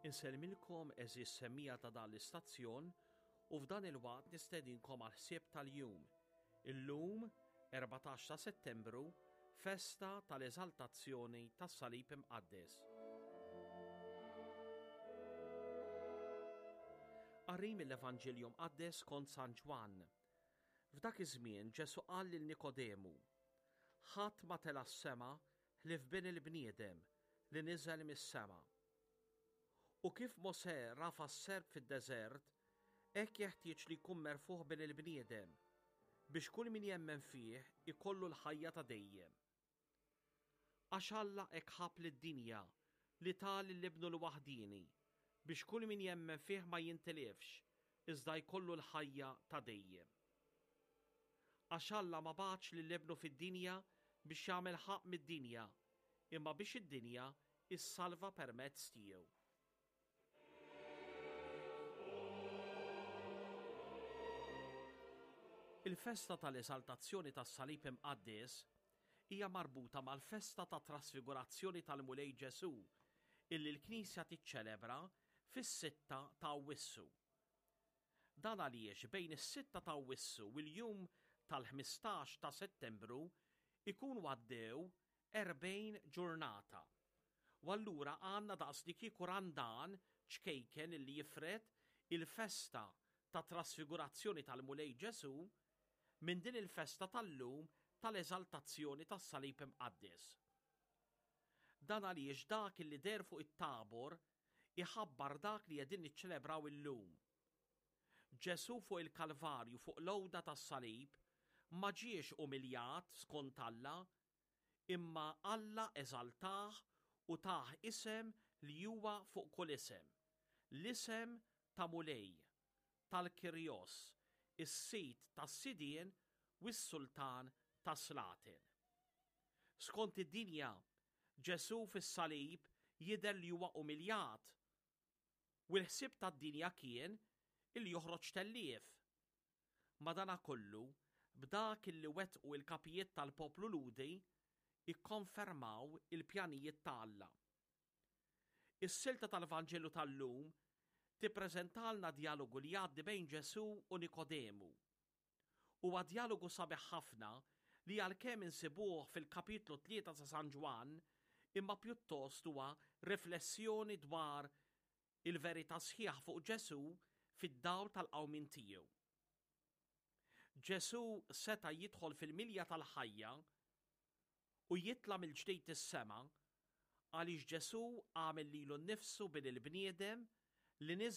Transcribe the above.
Insellmilkom għeżież semmiegħa ta' dan l-istazzjon u f'dan il-waqt nistedinkom għall-ħsieb tal-jum. Illum, 14 ta' Settembru, festa tal-Eżaltazzjoni tas-Salib Imqaddes. Qari mill-Evanġelju Mqaddes skont San Ġwann. F'dak iż-żmien Ġesù qal lil Nikodemu, Ħadd ma tela' s-sema ħlief Bin il-bniedem li niżel mis-sema. U kif Mosè rafa' s-serp fid-deżert, hekk jeħtieġ li jkun merfugħ Bin il-bniedem, biex kull min jemmen fih ikollu l-ħajja ta' dejjem. Għax Alla hekk ħabb lid-dinja li ta lil Ibnu l-waħdieni, biex kull min jemmen fih ma jintilifx, iżda jkollu l-ħajja ta' dejjem. Għax Alla ma bagħatx lil Ibnu fid-dinja biex jagħmel ħaqq mid-dinja, imma biex id-dinja ssalva permezz tiegħu. Il-festa tal-Eżaltazzjoni tas-Salib Imqaddes hija marbuta mal-festa tat-Trasfigurazzjoni tal-Mulej Ġesù illi l-Knisja tiċċelebra fis-sitta ta' Awwissu. Dan għaliex bejn is-sitta ta' Awwissu u l-jum tal-15 ta' Settembru jkunu għaddew 40 ġurnata. U allura għandna daqslikieku Randan ċkejken illi jifred il-festa tat-Trasfigurazzjoni tal-Mulej Ġesù minn din il-festa tal-lum tal-Eżaltazzjoni tas-Salib Imqaddes. Dan għaliex dak illi deher fuq it-Tabor iħabbar dak li qegħdin niċċelebraw illum. Ġesù fuq il-Kalvarju fuq l-għuda tas-salib ma ġiex umiljat skont Alla, imma Alla eżaltah u tah isem li huwa fuq kull isem, l-isem ta' Mulej, tal-Kyrios, is-Sid tas-sidien u s-Sultan tas-slaten. Skont id-dinja, Ġesù fis-salib jidher li huwa umiljat, u l-ħsieb tad-dinja kien illi joħroġ tellief. Madanakollu, b'dak illi wettqu l-kapijiet tal-poplu Lhudi, ikkonfermaw il-pjanijiet ta' Alla. Is-silta tal-Vanġelu tal-lum tippreżentalna djalogu li jgħaddi bejn Ġesù u Nikodemu. Huwa djalogu sabiħ ħafna li għalkemm insibuh fil-kapitlu 3 ta' San Ġwann, imma pjuttost huwa riflessjoni dwar il-verità sħiħa fuq Ġesù fid-dawl tal-qawmien tiegħu. Ġesù seta' jidħol fil-milja tal-ħajja u jitla' mill-ġdid is-sema għaliex Ġesù għamel lilu nnifsu bin il-bniedem li niżel.